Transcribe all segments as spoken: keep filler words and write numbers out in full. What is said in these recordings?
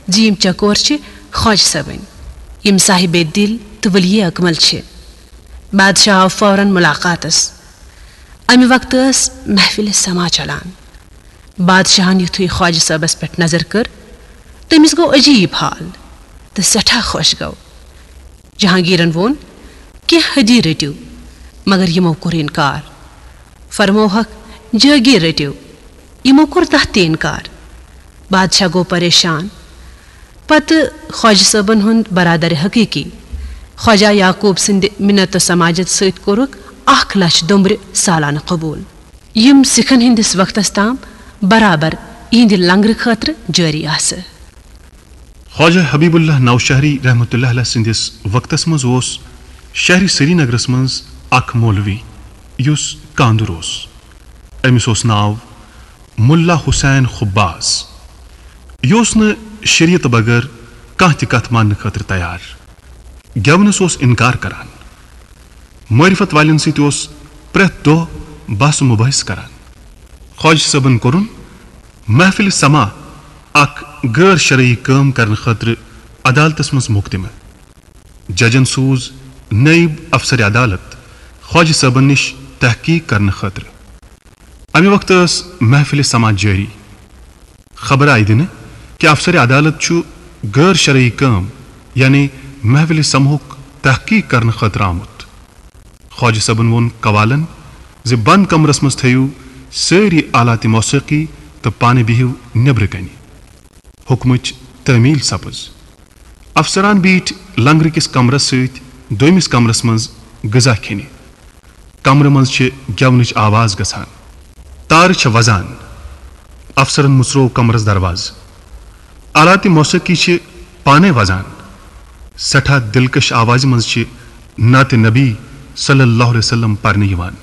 زِ یِم چکور چھِ خواجہ صٲبٕنۍ، یِم صاحب دِل تہٕ ولی اکمل چھِ۔ بادشاہ آو فوراً ملاقاتس۔ امہِ وقتہٕ ٲس محفل سما چلان۔ بادشاہن یُتھُے خواجہ صٲبس پٮ۪ٹھ نظر کٔر، تٔمِس گوٚو عجیب حال تہٕ سٮ۪ٹھاہ خۄش گوٚو۔ جہانگیرن ووٚن، "کینٛہہ حدی رٔٹِو"، مگر یِمو کوٚر انکار۔ فرمووہکھ، "جہانگیر رٔٹِو"، یِمو کوٚر تتھ تہِ انکار۔ بادشاہ گوٚو پریشان۔ پتہٕ خواجہ صٲبن ہُنٛد برادر حقیقی خواجہ یعقوب سٕنٛدِ منت و سماجت سۭتۍ کوٚرُکھ اکھ لچھ دۄمبرِ سالانہٕ قبول۔ یِم سکھن ہٕنٛدِس وقتس تام برابر یِہنٛدِ لنگرٕ خٲطرٕ جٲری آسہٕ۔ خواجہ حبیب اللہ نوشہری رحمتہ اللہ علیہ سٕنٛدِس وقتس منٛز اوس شہر سرینگرس منٛز اکھ مولوی، یُس کاندُر اوس۔ أمِس اوس ناو ملا حسین خباز۔ یہِ اوس نہٕ شریعت بغٲر کانٛہہ تہِ کتھ ماننہٕ خٲطرٕ تیار۔ گٮ۪ونس اوس انکار کران۔ معرفت والٮ۪ن سۭتۍ اوس پرٛٮ۪تھ دۄہ بحث و مباحث کران۔ خواجہ صٲبن کوٚرُن محفل سما اکھ غٲر شرعی کٲم کرنہٕ خٲطرٕ عدالتس منٛز مقدمہٕ۔ ججن سوٗز نٲیِب افسر عدالت خواجہ صٲبن نِش تحقیق کرنہٕ خٲطرٕ۔ امہِ وقتہٕ ٲس محفل سما جٲری۔ خبر آیہِ دِنہٕ کہِ افسر عدالت چھُ غٲر شرعی کٲم، یعنی محفل سماہُک تحقیق کرنہٕ خٲطرٕ آمُت۔ خواجہ صٲبن ووٚن قوالن زِ بند کمرس منٛز تھٲیِو سٲری آلات موسیقی تہٕ پانہٕ بِہِو نیبرٕ کنہِ۔ حکمٕچ تعمیل سپٕز۔ افسران بیٖٹھۍ لنگرٕ کِس کمرس سۭتۍ دوٚیمِس کمرس منٛز غذا کھیٚنہِ۔ کمرٕ منٛز چھِ گٮ۪ونٕچ آواز گژھان۔ تارٕ چھےٚ وزان۔ افسرن مُژروو کمرس دروازٕ۔ آلات موسیقی چھِ پانے وزان۔ سٮ۪ٹھاہ دلکش آوازِ منٛز چھِ نعت نبی صلی اللہ علیہ وسلم پرنہٕ یِوان۔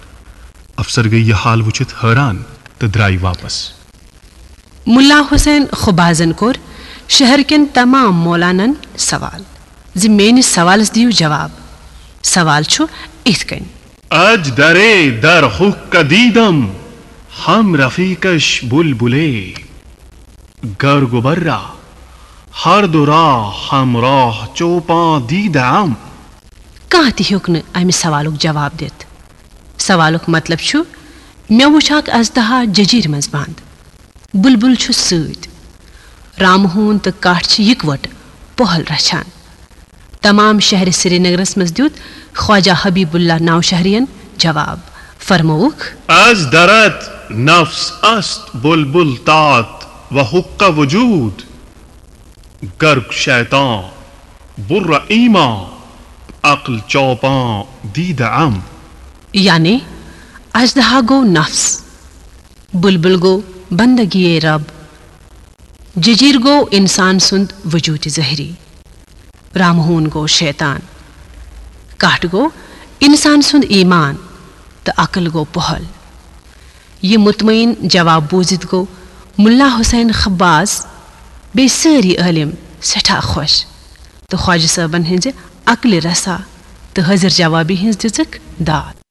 افسر گٔیہِ یہِ حال وٕچھِتھ حٲران تہٕ درٛایہِ واپس۔ ملا حسین خبازن کوٚر شہر کٮ۪ن تمام مولانن سوال زِ میٲنِس سوالس دِیِو جواب۔ سوال چھُ اِتھ کٔنۍ۔ از درے در حق دیدم ہم رفیقش بلبلے، گر گبرا ہر دو را ہمراہ چوپاں دیدم۔ کانٛہہ تہِ ہیوٚک نہٕ امہِ سوالُک جواب دِتھ۔ سوالُک مطلب چھُ، مےٚ وُچھ اکھ اژدہا ججیرِ منٛز بند۔ بلبل چھُ سۭتۍ۔ رامہٕ ہوٗن تہٕ کٹھ چھِ یکوٹہٕ پۄہل رچھان۔ تمام شہرِ سرینگرس منٛز دیُت خواجہ حبیب اللہ نوشہرین جواب۔ فرمووُکھ۔ از درت نفس است بلبل تات و حق وجود، گرگ شیطان بر ایمان عقل چوپان دید ام۔ یعنی، اژدہا گوٚو نفس، بلبل گوٚو بندگی رب، ججیر گوٚو انسان سُنٛد وجود ظٲہری، رامہون گوٚو شیطان، کٹھ گوٚو انسان سُنٛد ایمان تہٕ عقل گوٚو پۄہل۔ یہِ مطمئن جواب بوٗزِتھ گوٚو ملا حسین خباز بیٚیہِ سٲری عٲلم سٮ۪ٹھاہ خۄش تہٕ خواجہ صٲبن ہٕنٛزِ عقلِ رسا تہٕ حٲضِر جوابی ہٕنٛز دِژٕکھ داد۔